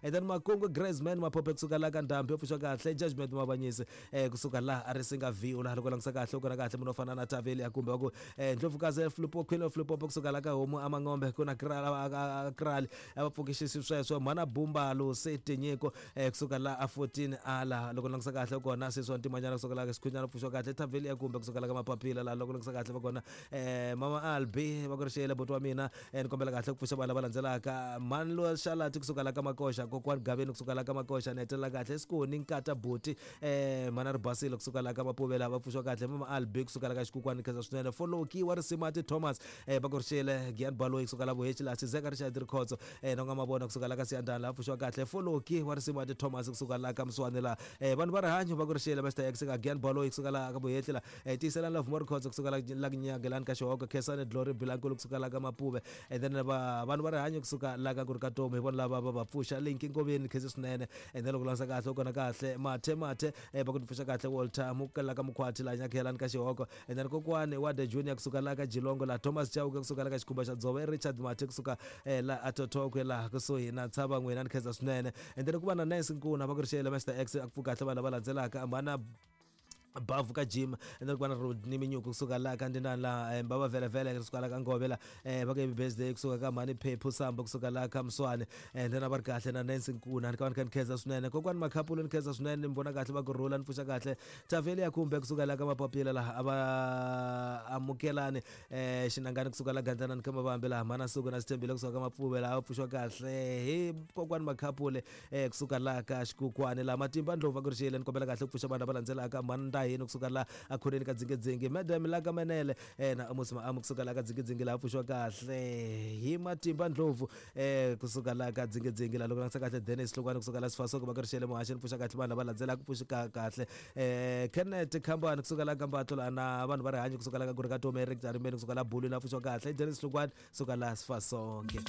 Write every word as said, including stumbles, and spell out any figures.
And then Makungu Graceman Maphophe kusuka la ka Ndhambi, pfuxa kahle Judgment Mabanyisi eh kusuka la a ri singa V la loko langisa kahle u kona kahle munhu o fana na Taveli kumbe ku eh Ndlovukazi Flipo Queen of Flipo kusuka la ka Homu Amangombe ku na Krali Krali a va pfukixisi sweswo Mhana Bumbalo Setinyiko eh kusuka la a fourteen ala loko langisa kahle kona seswa Ntimanyana kusuka la ka Sikhunyana pfuxa kahle Taveli kumbe kusuka la ka Mapapila la loko langisa kahle va kona eh Mama Albi va ku rixele buti wa mina eh ni kombela kahle ku pfuxa vanhu lava landzelaka Manlo Xalati kusuka la ka Makoxa, Kokwani Gaveni kusuka la ka Makoxa, ni hetelela kahle Sikoni Nkata Buti eh Mana Ribasile kusuka la ka Mapuvela va pfuxa kahle Mama Albi kusuka la ka Xikukwani khensa swinene Foloki wa Risimati Thomas eh va ku rixele Gian Baloyi kusuka la Vuhechi la Xizeka Richard Rikhotso eh na nga mavona kusuka la ka Siyandana la pfuxa kahle Foloki wa Risimati Thomas kusuka la ka Mswani la eh vanhu va rihanyo va ku rixele Mister X ka Gian Baloyi kusuka la ka Vuhechi la eh tiyiselani la Vuma Rikhotso kusuka la la Nyagelani ka Xihoko Khensani Glory Bilankulu kusuka la ka Mapuve and then va vanhu va rihanyo kusuka la ka Kurikatomi hi vona lava va va pfuxa Linki Nkoveni khensa swinene and then loko langisa kahle u kona kahle Mathe Mathe eh va ku pfuxa kahle Walter Mukela ka Mukhwati la Nyakhelani ka Xihoko and then kokwani wa The Junior kusuka la ka Jilongo la Thomas Chauke kusuka la ka Xikhumba xa Dzove Richard Mathe kusuka eh la Atotokwe la kusuhi na Tshava n'wina ni khensa swinene and then ku va na Nancy Nkuna va ku rixele Mister X a ku pfuka kahle vanhu lava landzelaka Mhana Bavu ka Jim and then ku va na Rodney Minyuku kusuka la ka Ndinani la Baba Vele Vele kusuka la ka Ngove la eh va ka birthday kusuka ka Mhani Phephu Samba kusuka la ka Mswane and then a va ri kahle na Nancy Nkuna ni ka va ni kha ni khensa swinene kokwani Makhapulu ni khensa swinene ni vona kahle va ku rhula ni pfuxa kahle Taveli ya kumbe kusuka la ka Mapapila la a va amukelani eh Xinangani kusuka la Gandlanani ka Mavambe la Mhana Suku na Sithembile kusuka ka Mapfuve la a pfuxiwa kahle hi kokwani Makhapule eh kusuka la ka Xikukwani la Matimba Ndlovu va ku rixele ni kombela kahle ku pfuxa vanhu lava landzelaka Mhani Yini kusuka la akhoneni ka Dzingedzingi Madam la ka Manele eh na Amos Maamu kusuka la ka Dzingedzingi la pfuxiwa kahle hi Matimba Ndlovu eh kusuka la ka Dzingedzingi la loko langisa kahle Dennis Hlongwane kusuka la Sifasoko va ku rixele muhaxi ni pfuxa kahle vanhu lava landzelaka ku pfuxika kahle eh Kenneth Khambani kusuka la ka Mbatlo la na vanhu va rihanyo kusuka la ka Kurikatomi Eric Jarimeni kusuka la Bulu la pfuxiwa kahle Dennis Hlongwane kusuka la Sifasonke.